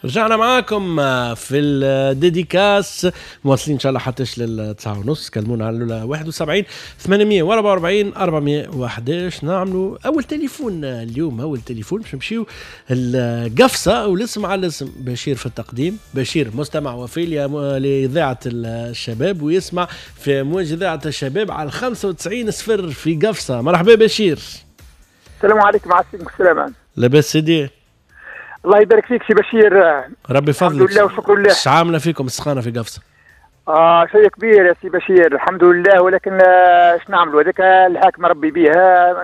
رجعنا معاكم في ال dédicace، مواصلين ان شاء الله حتى لل9:30. كلمونا على 71 844 411. نعملوا اول تليفون اليوم، اول تليفون باش نمشيو القفصه، والاسم على الاسم بشير في التقديم. بشير مستمع وفي لاذاعة الشباب ويسمع في موج اذاعة الشباب على 95.0 في قفصه. مرحبا بشير. السلام عليكم. وعليكم السلام. لاباس سيدي؟ الله يبارك فيك سي بشير. ربي يفضلك. الحمد لله وشكر لله. اش عامله فيكم السخانه في قفصه؟ شيء كبير يا سي بشير، الحمد لله، ولكن اش نعملوا، هذاك الحاكم ربي بها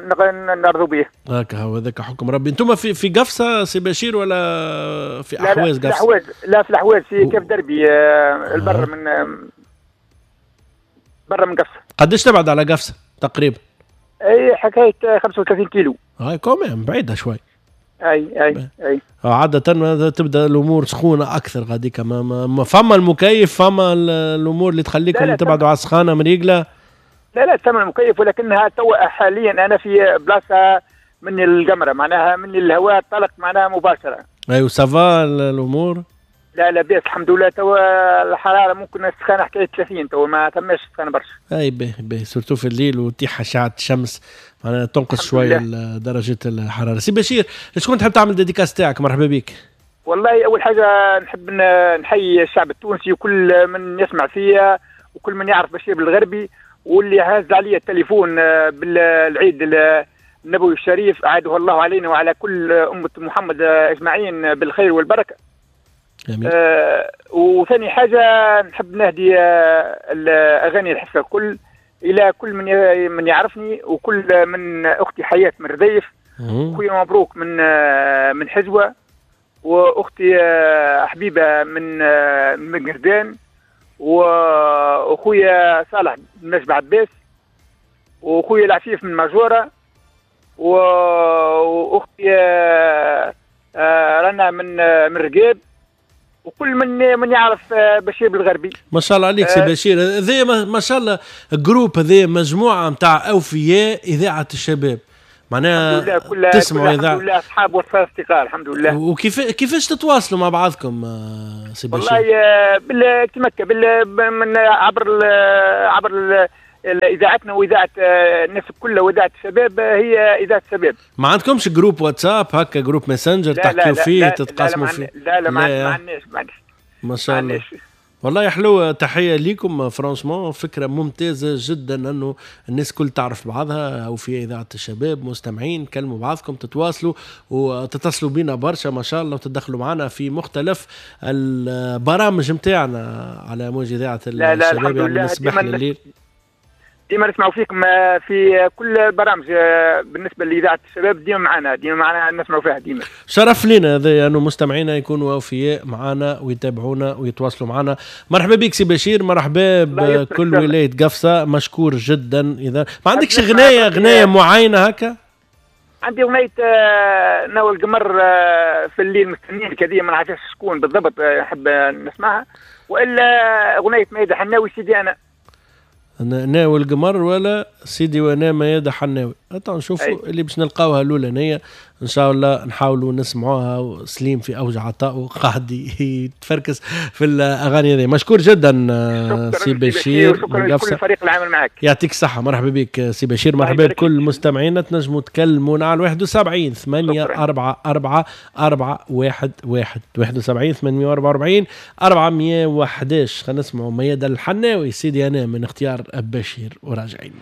نرضوا به. هكا هو، هذاك حكم ربي. انتم في قفصه سي بشير ولا في احواز قفصه؟ الاحواز، لا في الاحواز، في كيف دربي البر من برا من قفصه. قداش تبعد على قفصه تقريبا؟ اي حكاية 35 كيلو. هاي quand même بعيدة شوي. اي اي اي. عادة تبدا الامور سخونة اكثر غاديك، ما فما المكيف، فما الامور اللي تخليكم تبعدوا على السخانه مريقله. لا لا ثمن المكيف، ولكنها تو حاليا انا في بلاصة من القمره، معناها من الهواء طلق معناها مباشرة. ايوا ça va الامور؟ لا لا بأس الحمد لله. تو الحرارة ممكن السخانه حكاية 30، تو ما ثماش سخانه برشا. اي به به، surtout في الليل وتيح اشعه الشمس معناها تنقص شوية درجه الحرارة. سي بشير، شكون تحب تعمل dédicace تاعك؟ مرحبا بك. والله اول حاجة نحب نحيي الشعب التونسي وكل من يسمع فيا وكل من يعرف بشير بالغربي واللي هاز علي التليفون بالعيد النبوي الشريف، أعاده الله علينا وعلى كل امه محمد اجمعين بالخير والبركة. وثاني حاجة نحب نهدي الأغاني الحفلة الكل إلى كل من يعرفني وكل من أختي حياة من رديف، أخوي مبروك من حزوة، وأختي حبيبة من قردان، وأخويا صالح من مجبع عباس، وأخويا العفيف من ماجورة، وأختي رنا من رقاب، وكل من يعرف بشير بالغربي. ما شاء الله عليك سي بشير. هذا ما شاء الله groupe، هذا مجموعة نتاع اوفياء اذاعة الشباب، معناها تسمعوا اذاعة. الحمد لله اصحاب واصدقاء الحمد لله. وكيف كيفاش تتواصلوا مع بعضكم سي بشير؟ والله كما من عبر اذاعتنا واذاعة الناس كلها، واذاعة الشباب هي اذاعة الشباب. ما عندكمش groupe واتساب هكا، groupe ماسنجر تحكيو فيه تتقاسموا فيه؟ لا لا ما عندناش. ما شاء الله. والله حلوة، تحية ليكم. franchement فكرة ممتازة جدا انه الناس كل تعرف بعضها، او في اذاعة الشباب مستمعين كلموا بعضكم، تتواصلوا وتتصلوا بينا برشا ما شاء الله، وتدخلوا معنا في مختلف البرامج نتاعنا على موج اذاعة الشباب، يعني من الصباح لليل. ديما نسمعوا فيكم في كل البرامج بالنسبة لاذاعة الشباب، ديما معنا، ديما معنا نسمعوا فيها ديما. شرف لنا هذا انه مستمعينا يكونوا اوفياء معنا ويتابعونا ويتواصلوا معنا. مرحبا بك سي بشير، مرحبا بكل ولاية قفصه، مشكور جدا. اذا ما عندكش غنايه معينة هكا؟ عندي اغنية ناوي القمر في الليل مستنيك، هذه ما نعرفش شكون بالضبط، نحب نسمعها، والا اغنية ميادة حناوي سيدي انا. ناوي القمر ولا سيدي وانا ميادة حناوي. نشوفوا اللي باش نلقاوها الاولانية ان شاء الله، نحاولوا نسمعوها. سليم في اوج عطائه قاعد يتفركس في الاغاني هذه. مشكور جدا سي بشير، شكرا لكل الفريق العامل معك. يعطيك الصحة. مرحبا بك سي بشير، مرحبا بكل مستمعينا. تنجموا تكلمونا على 71 844 411 71 844 411. خلينا نسمعوا ميادة الحناوي سيدي انا من اختيار بشير وراجعين.